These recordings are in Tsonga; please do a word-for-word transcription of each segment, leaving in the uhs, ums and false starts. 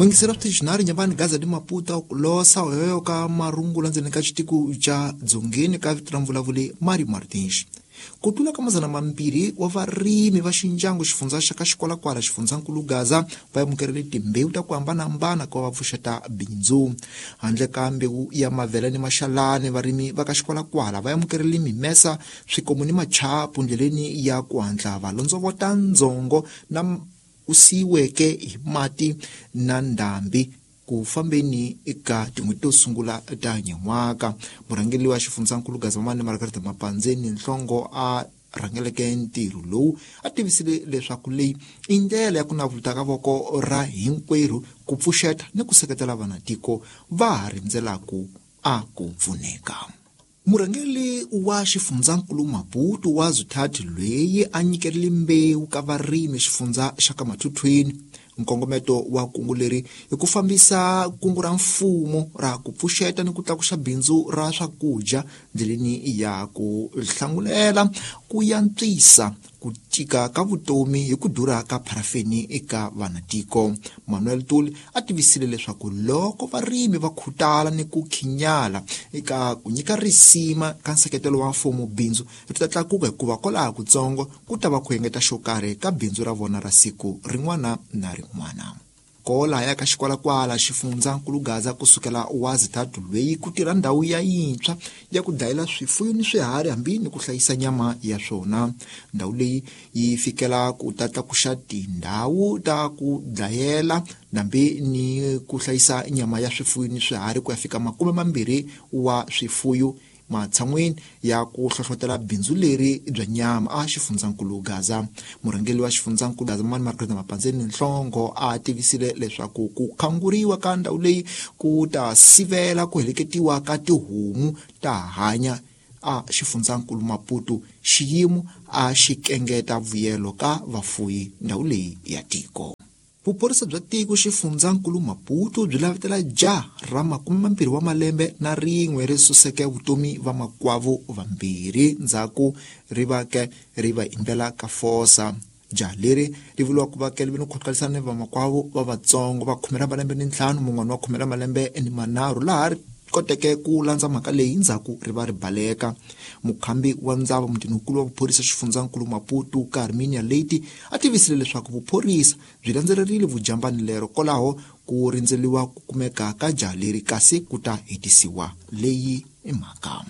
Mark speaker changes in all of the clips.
Speaker 1: Mwingisera switicinari nyambani Gaza di Maputo kulosa oyoyo ka marungula ndzeni ka xitiko xa dzongeni ka vito ra mvulavuli Mario Martins. Ku tlula ka mazana mambirhi wa varimi va xindyangu xifundza xa ka Xikwalakwala xifundzankulu Gaza va amukerile timbewu ta ku hambanahambana ku va va pfuxeta bindzu. Handle ka mbewu ya mavele ni maxalani, varimi va ka Xikwalakwala va amukerile mimesa, swikomu ni machapu ndleleni ya ku hatla va londzovota ndzhongo na u siyiweke hi mati na ndhambi ku fambeni eka tin'hweti to sungula ta nyen'waka. Murhangeri wa xifundzankulu Gaza Mamani Margaret Mapandzeni Nhlongo a rhangeleke ntirho lowu a tivisile leswaku leyi i ndlela ya ku navuluta ka voko ra hinkwerhu ku pfuxeta ni ku seketela vanatiko va ha rindzelaka a ku pfuneka. Murhangeri wa xifundzankulu Maputo wa Zuthathi loyi a nyikerile mbewu ka varimi xifundza xa ka Mathuthwini. Nkongometo wa kungu leri i ku fambisa kungu ra mfumo ra ku pfuxeta ni ku tlakusa bindzu ra swakudya ndleleni ya ku hlangulela ku yantswisa ku tika ka vutomi hi ku durha ka pharafeni eka vanatiko. Manuel Tuli a tivisile leswaku loko varimi va khutala ni ku khinyala eka ku nyika risima ka nseketelo wa mfumo, bindzu ri ta tlakuka hikuva kwalaho kutsongo ku ta va ku engeta xo karhi ka bindzu ra vona ra siku rin'wana na rin'wana. Kola ya ka Xikwalakwala xifundzankulu Gaza kusukela wa Zitatu loyi ku tirha ndhawu ya yintshwa ya ku dlayela swifuyo ni swiharhi hambi ni ku hlayisa nyama ya swona. Ndhawu leyi yi fikela ku ta tlakuxa tindhawu ta ku dlayela nambi ni ku hlayisa nyama ya swifuyo ni swiharhi ku ya fika makume mambirhi wa swifuyo matshan'wini ya ku hlohlotela bindzu leri bya nyama a xifundzankulu Gaza. Murhangeri wa xifundzankulu Gaza Mamani Margaret Mapandzeni Nhlongo a tivisile leswaku ku khanguriwa ka ndhawu leyi ku ta sivela ku heleketiwa ka tihomu ta hanya a xifundzankulu Maputo, xiyimo a xi kengeta vuyelo ka vafuyi ndhawu leyi ya tiko. Vuphorisa bya tiko xifundzankulu Maputo byi lavetela jaha ra makume mambirhi wa malembe na rin'we ri suseke vutomi va makwavo vambirhi ndzhaku ri va ke ri va imbela ka fosa. Jaha leri ri vuriwa ku va ke ri vi ni khotlisana ni vamakwavo va vatsongo va khume ra malembe ni ntlhanu, mun'wana wa khume ra malembe ni manharhu, laha ri koteke ku landza mhaka leyi ndzhaku ri va ri baleka. Mukhambi wa ndzava mutinikulu wa vuphorisa xifundzankulu Maputo Carminia Leite a tivisile leswaku vuphorisa byi landzelerile vujambani lero kwalaho ku rindzeliwa ku kumeka ka jaha leri kasi ku ta hetisiwa leyi i mhaka.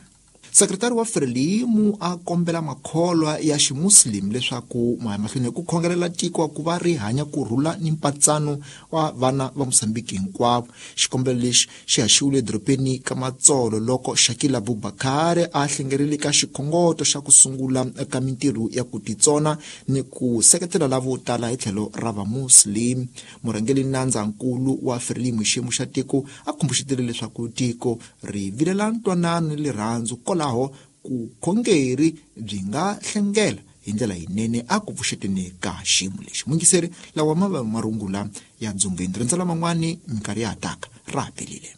Speaker 1: Sekretari wa Frelimo a kombela makholwa ya ximuslim leswaku ma ya mahlweni ku khongelela tiko ku va ri hanya ku rhula ni mpatsano wa vana va Mozambique hinkwavo. Xikombelo lexi xi haxiwile edorobeni ka Matsolo loko Shakila Abubakar a hlengerile ka xikhongoto xa ku sungula ka mintirho ya ku titsona ni ku seketela lavo tala hi tlhelo ra vamuslim. Murhangeri nandzankulu wa Frelimo xiyimo xa tiko a khumbuxetile leswaku tiko ri vilela ntwanano ni rirhandzu kwalaho ku khongeri byi nga hlengela hi ndlela yinene a ku pfuxeteni ka xiyimo lexi. Mwingiseri lawa ma va marungula ya dzongeni rindzela man'wani minkarhi ya ha taka ra ha pelile.